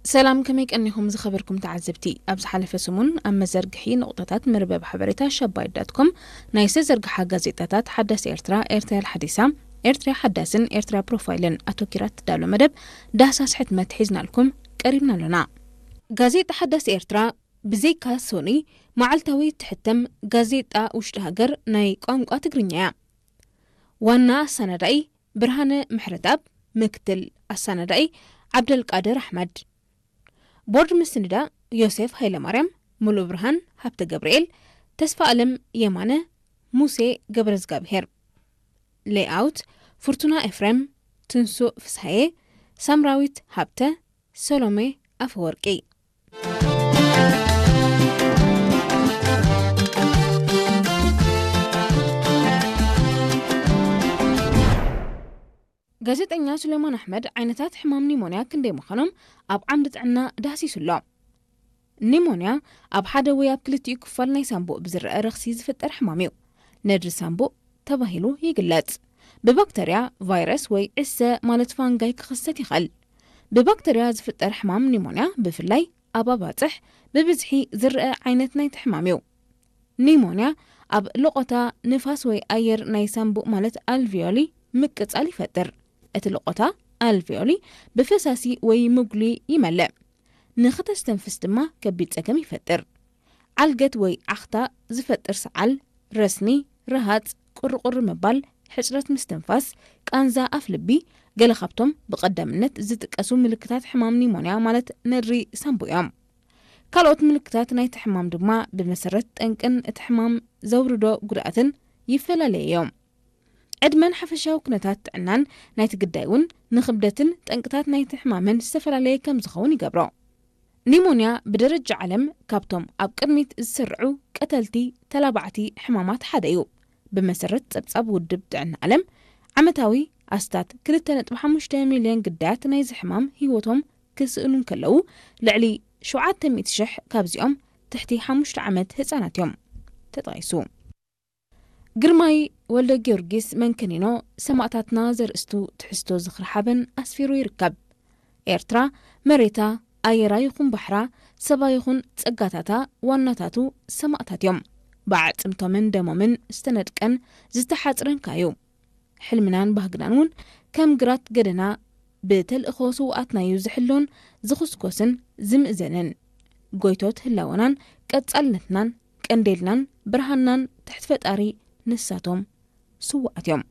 ሰላም፣ ከመይ ቀኒኹም ዝኸበርኩም ተዓዘብቲ? ኣብ ዝሓለፈ ሰሙን ኣብ መዘርግሒ ነቑጣታት መርበብ ሓበሬታ ሸባይት ዳት ኮም ናይ ዝተዘርግሓ ጋዜጣታት ሓዳስ ኤርትራ፣ ኤርትራ ሓዲሳ፣ ኤርትራ ሓዳስን ኤርትራ ፕሮፋይልን ኣተኪራ ትዳሎ መደብ ዳህሳስ ሕትመት ሒዝናልኩም ቀሪብና ኣሎና። ጋዜጣ ሓዳስ ኤርትራ ብዘይካ ሶኒ መዓልታዊ ትሕተም ጋዜጣ ውሽጢ ሃገር ናይ ቋንቋ ትግርኛ እያ። ዋና ኣሰናዳኢ ብርሃነ ምሕረትኣብ፣ ምክትል ኣሰናዳኢ ዓብደልቃድር ኣሕመድ። ቦርድ ምስንዳ ዮሴፍ ሃይለማርያም፣ ሙሉእ ብርሃን ሃብተ ገብርኤል፣ ተስፋ ኣለም የማነ፣ ሙሴ ገብረዝጋብሄር። ሌይኣውት ፍርቱና ኤፍሬም፣ ትንሱእ ፍስሃየ፣ ሳምራዊት ሃብተ፣ ሰሎሜ ኣፈወርቂ። ጋዜጠኛ ሱሌማን ኣሕመድ ዓይነታት ሕማም ኒሞንያ ክንደይ ምዃኖም ኣብ ዓምዲ ጥዕና ዳህሲሱ ኣሎ። ኒሞንያ ኣብ ሓደ ወይ ኣብ ክልቲኡ ክፋል ናይ ሳንቡእ ብዝረአ ረኽሲ ዝፍጠር ሕማም እዩ። ነድሪ ሳንቡእ ተባሂሉ ይግለጽ። ብባክተርያ፣ ቫይረስ ወይ ዕሰ ማለት ፋንጋይ ክኽሰት ይኽእል። ብባክተርያ ዝፍጠር ሕማም ኒሞንያ ብፍላይ ኣብ ኣባጽሕ ብብዝሒ ዝረአ ዓይነት ናይቲ ሕማም እዩ። ኒሞንያ ኣብ ልቆታ ንፋስ ወይ ኣየር ናይ ሳንቡእ ማለት ኣልቪዮሊ ምቅጻል ይፈጥር። እቲ ልቆታ ኣልቪዮሊ ብፈሳሲ ወይ ምጉሊ ይመልእ። ንኽተስተንፍስ ድማ ከቢድ ጸገም ይፈጥር። ዓልገት ወይ ዓኽታ ዝፈጥር ሰዓል፣ ረስኒ፣ ረሃጽ፣ ቁርቁር ምባል፣ ሕጽረት ምስትንፋስ፣ ቃንዛ ኣፍ ልቢ፣ ገለ ካብቶም ብቐዳምነት ዝጥቀሱ ምልክታት ሕማም ኒሞንያ ማለት ነድሪ ሳንቡእ እዮም። ካልኦት ምልክታት ናይቲ ሕማም ድማ ብመሰረት ጠንቅን እቲ ሕማም ዘውርዶ ጉድኣትን ይፈላለዩ እዮም። ዕድመን ሓፈሻዊ ኩነታት ጥዕናን ናይቲ ግዳይ እውን ንኽብደትን ጠንቅታት ናይቲ ሕማምን ዝተፈላለየ ከም ዝኸውን ይገብሮ። ኒሞንያ ብደረጃ ዓለም ካብቶም ኣብ ቅድሚት ዝስርዑ ቀተልቲ ተላባዕቲ ሕማማት ሓደ እዩ። ብመሰረት ጸብጻብ ውድብ ጥዕና ዓለም፣ ዓመታዊ ኣስታት ክልተ ነጥቢ ሓሙሽተ ሚልዮን ግዳያት ናይዚ ሕማም ህይወቶም ክስእኑ እንከለዉ፣ ልዕሊ ሸውዓተ ሚእቲ ሽሕ ካብዚኦም ትሕቲ ሓሙሽተ ዓመት ህጻናት እዮም። ተጠቒሱ። ግርማይ ወልደ ጊዮርጊስ መንከኒኖ ሰማእታትና ዘርእስቱ ትሕዝቶ ዝኽሪ ሓበን ኣስፊሩ ይርከብ። ኤርትራ መሬታ፣ ኣየራ ይኹን ባሕራ፣ ሰባ ይኹን ጸጋታታ ዋናታቱ ሰማእታት እዮም። ብኣዕጽምቶምን ደሞምን ዝተነድቀን ዝተሓጽረን ከኣ እዩ። ሕልምናን ባህግናን እውን ከም ግራት ገደና ብተልእኾ ስውኣትና'ዩ ዝሕሎን ዝኹስኮስን ዝምእዘንን። ጎይቶት ህላወናን ቀጻልነትናን ቀንዴልናን ብርሃንናን ትሕቲ ፈጣሪ ንሳቶም ስውኣት እዮም።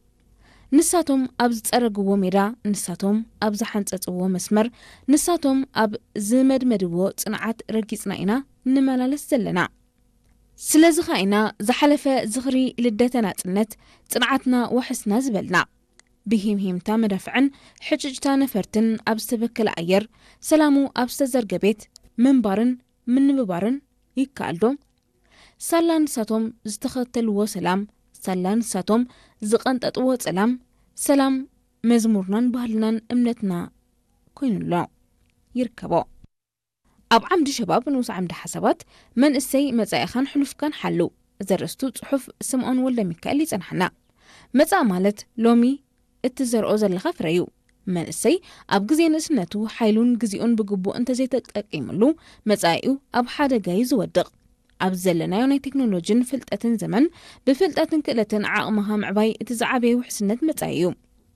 ንሳቶም ኣብ ዝጸረግዎ ሜዳ፣ ንሳቶም ኣብ ዝሓንጸጽዎ መስመር፣ ንሳቶም ኣብ ዝመድመድዎ ጽንዓት ረጊጽና ኢና ንመላለስ ዘለና። ስለዚ ኸኣ ኢና ዝሓለፈ ዝኽሪ ልደተ ናጽነት ጽንዓትና ወሕስና ዝበልና። ብሂምሂምታ መዳፍዕን ሕጭጭታ ነፈርትን ኣብ ዝተበከለ ኣየር፣ ሰላሙ ኣብ ዝተዘርገ ቤት ምንባርን ምንብባርን ይከኣል ዶ? ሳላ ንሳቶም ዝተኸተልዎ ሰላም፣ ሳላ ንሳቶም ዝቐንጠጥዎ ጸላም፣ ሰላም መዝሙርናን ባህልናን እምነትና ኮይኑ ኣሎ። ይርከቦ። ኣብ ዓምዲ ሸባብ ንኡስ ዓምዲ ሓሳባት፣ መንእሰይ መጻኢኻን ሕሉፍካን ሓሉ ዘርእስቱ ጽሑፍ ስምዖን ወልደ ሚካኤል ይጸንሓና። መጻኢ ማለት ሎሚ እትዘርኦ ዘለኻ ፍረ እዩ። መንእሰይ ኣብ ግዜ ንእስነቱ ሓይሉን ግዜኡን ብግቡእ እንተዘይተጠቂምሉ፣ መጻኢኡ ኣብ ሓደጋ እዩ ዝወድቕ። ኣብ ዘለናዮ ናይ ቴክኖሎጂን ፍልጠትን ዘመን፣ ብፍልጠትን ክእለትን ዓቕምኻ ምዕባይ እቲ ዝዓበየ ውሕስነት መጻኢ እዩ።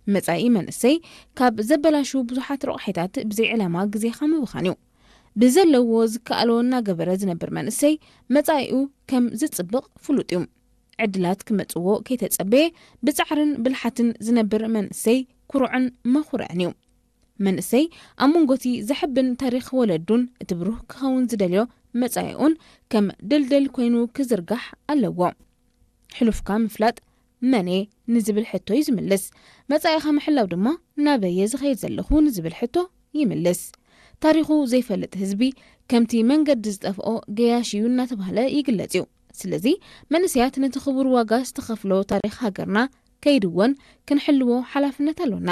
መጻኢ መንእሰይ ካብ ዘበላሹ ብዙሓት ረቑሒታት ብዘይ ዕላማ ግዜኻ ምብኻን እዩ። ብዘለዎ ዝከኣሎ እናገበረ ዝነብር መንእሰይ መጻኢኡ ከም ዝጽብቕ ፍሉጥ እዩ። ዕድላት ክመጽዎ ከይተጸበየ ብጻዕርን ብልሓትን ዝነብር መንእሰይ ኩሩዕን መኹርዕን እዩ። መንእሰይ ኣብ መንጎቲ ዘሕብን ታሪኽ ወለዱን እቲ ብሩህ ክኸውን ዝደልዮ መጻኢኡን ከም ድልድል ኮይኑ ክዝርጋሕ ኣለዎ። ሕሉፍካ ምፍላጥ መን እየ ንዝብል ሕቶ እዩ ዝምልስ። መጻኢኻ ምሕላው ድማ ናበይ እየ ዝኸይድ ዘለኹ ንዝብል ሕቶ ይምልስ። ታሪኹ ዘይፈልጥ ህዝቢ ከምቲ መንገዲ ዝጠፍኦ ገያሽ እዩ እናተባህለ ይግለጽ እዩ። ስለዚ መንእሰያት ነቲ ክቡር ዋጋ ዝተኸፍሎ ታሪኽ ሃገርና ከይድወን ክንሕልዎ ሓላፍነት ኣሎና።